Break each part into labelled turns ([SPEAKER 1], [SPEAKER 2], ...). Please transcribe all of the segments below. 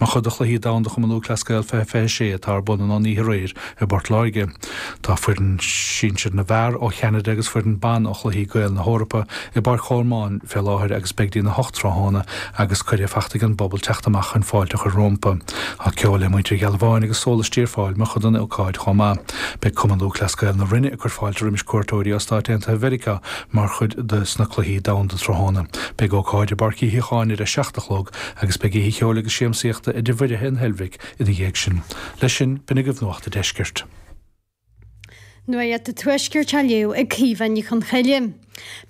[SPEAKER 1] mar chuid de Chluichí Domhanda Chumann Lúthchleas Gael 2026 atá ar bun ón oíche aréir i bPort Láirge. Tá foireann sinsir na bhfear ó Cheanada agus foireann ban ó Chluichí Gael na hEorpa i bPáirc Cholmáin fé láthair agus beidh dtína hocht tráthnóna agus cuireadh fachta ag an bpobal teacht amach chun fáilte a chur rómpa. Tá ceol le Muintir Ghealbháin agus Sólaistí ar fáil mar chuid den ócáid chomh maith. Beidh Cumann Lúthchleas Gael na Rinne ag cur fáilte roimis cuairteoirí ó Stáit Aontaithe Mheiriceá mar chuid de sna Cluichí Domhanda tráthnóna. Beidh ócáid i bPáirc Uí Shíocháin ar a 7 a chlog agus beidh oíche cheoil agus siamsaíochta i dTigh Mhuirithe an Heilbhic ina dhiaidh sin. Leis sin, b'in agaibh Nuacht a' Deiscirt.
[SPEAKER 2] Nuacht a' Tuaiscirt á léamh ag Caoimhe Ní Chonchoille.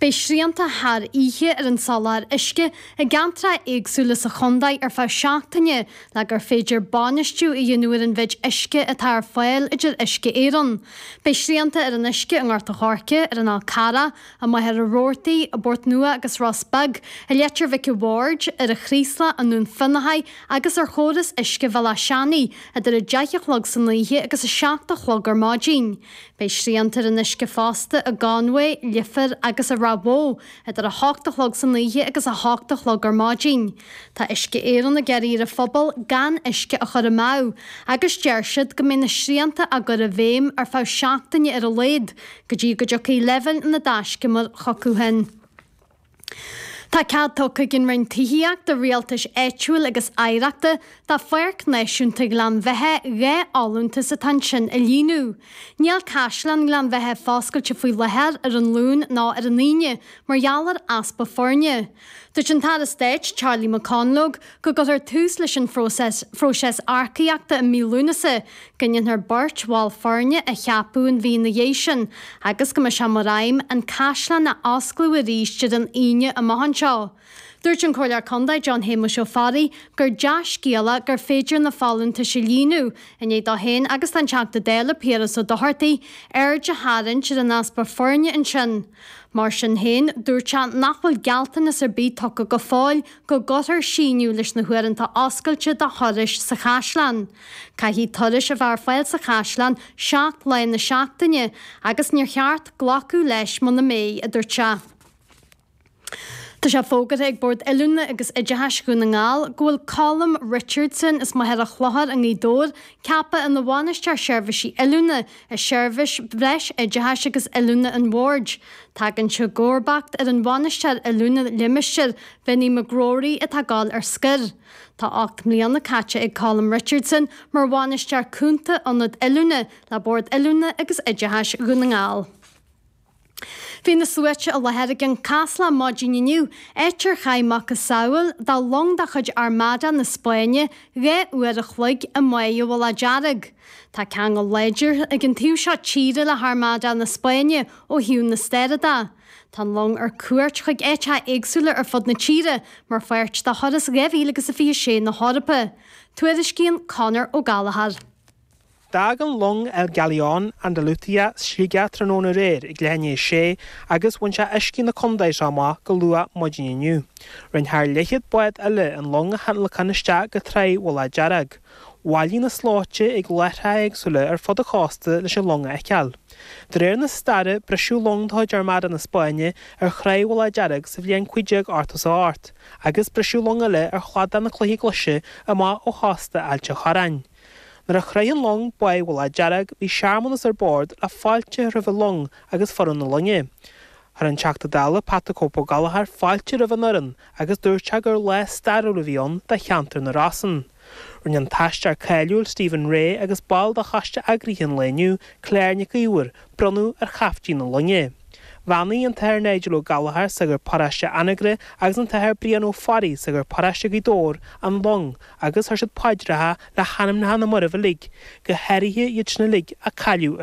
[SPEAKER 2] Beidh srianta thar oíche ar an soláthar uisce i gceantracha éagsúla sa chontae ar feadh seachtaine le gur féidir bainistiú a dhéanamh ar an mhéid uisce atá ar fáil a deir Uisce Éireann. Beidh srianta ar an uisce i nGort a' Choirce, ar an Fhál Carrach, i Machaire Rabhartaigh, i bPort Nua agus Ros Beag, i Leitir Mhic a' Bhaird, ar an Chraoslach, i nDún Fionnachaidh agus ar chóras uisce Bhealach Seanaidh idir 10 a chlog san oíche agus 7 a chlog ar maidin. Beidh srianta ar an uisce fosta i gConway, Leifear agus i Ráth Bhoth idir 8 a chlog san oíche agus 8 a chlog ar maidin. Tá Uisce Éireann ag iarraidh ar an phobal gan uisce a chur amú agus deir siad go mbeidh na srianta á gcur i bhfeidhm ar feadh seachtaine ar a laghad go dtí go dtiocfaidh leibhéil na dtaiscumar chucu féin. Tá cead tugtha ag an Roinn Tithíochta, Rialtais Áitiúil agus Oidhreachta do Pháirc Náisiúnta Ghleann Bheatha 2 fholúntas atá ansin a líonadh. Níl Caisleán Ghleann Bheatha foscailte faoi láthair ar an Luan ná ar an Aoine mar gheall ar easpa foirne. Dúirt an tAire Stáit Charlie McConalogue go gcuirfear tús leis an phróiseas earcaíochta i mí Lúnasa, go ndéanfar beirt bhall foirne a cheapadh an mhí ina dhiaidh sin agus go mbeidh sé mar aidhm an caisleán a osclú arís ar an Aoine amach anseo. Dúirt an Comhairleoir Contae John Shéamuis Ó Fearraigh gur dea-scéala gur féidir na folúntais a líonadh, i ndiaidh dó féin agus don Teachta Dála Piaras Ó Dochartaigh aird a tharraingt ar an easpa foirne ansin. Mar sin féin, dúirt sé nach bhfuil gealltanas ar bith tugtha go fóill go gcuirfear síneadh leis na huaireanta oscailte do thurais sa chaisleán. Caithfidh turais a bheith ar fáil sa chaisleán 7 lá na seachtaine agus níor cheart glacadh leis muna mbeidh, a dúirt sé. Tá sé fógartha ag Bord Oiliúna agus Oideachais Dhún na nGall go bhfuil Colm Richardson as Machaire Chlochair i nGaoth Dobhair ceaptha ina Bhainisteoir Seirbhísí Oiliúna i Seirbhís Bhreis Oideachais agus Oiliúna an Bhoird. Tagann sé i gcomharbacht ar an Bhainisteoir Oiliúna Limistéir, Vinny McGrory, atá ag dul ar scor. Tá 8 mbliana caite ag Colm Richardson mar Bhainisteoir Cúnta Ionad Oiliúna le Bord Oiliúna agus Oideachais Dhún na nGall. Bhí na sluaite i láthair ag an Chaslach maidin inniu, áit ar chaith macasamhail de long de chuid Armada na Spáinne 2 uair a chloig i mBáigh an Mhullaigh Dearg. Tá ceangal láidir ag an taobh seo tíre le hArmada na Spáinne ó thaobh na staire de. Tá an long ar cuairt chuig áiteacha éagsúla ar fud na tíre mar pháirt de thuras 2026 na hEorpa. Tuairiscíonn Conor Ó Gallchóir.
[SPEAKER 3] D'fhág an long El Galeón Andalucía Sligeach tráthnóna aréir ag leath i ndiaidh a sé agus bhain sé uiscí na contae seo amach go luath maidin inniu. Rinne thar leathchéad bád eile an long a thionlacan isteach go Tráigh Mhullach Dearg. Bhailigh na slóite ag láithreacha éagsúla ar fud an chósta leis an long a fheiceáil. De réir na staire, briseadh long de chuid Armada na Spáinne ar Thráigh Mhullach Dearg sa bhliain 1588 agus briseadh long eile ar chladach na Cloiche Glaise amach ó chósta Ailt an Chorráin. Nuair a shroich an long Báigh Mhullach Dearg bhí searmanas ar bord le fáilte a chur roimh an long agus foireann na loinge. Chuir an Teachta Dála Pat the Cope Ó Gallchóir fáilte roimh an fhoireann agus dúirt sé gur lá stairiúil a bhí ann do cheantar na Rosann. Rinne an t-aisteoir cáiliúil Stephen Rea agus ball de choiste eagraithe an lae inniu, Claire Nic Íomhair, bronnadh ar chaiftín na loinge. Bheannaigh an tAthair Nigel Ó Gallchóir, sagart paróiste Anagaire, agus an tAthair Brian Ó Fearraigh, sagart paróiste Ghaoth Dobhair, an long agus chuir siad paidreacha le hanamnacha na marbh uilig, go háirithe iad sin uilig a cailleadh ar.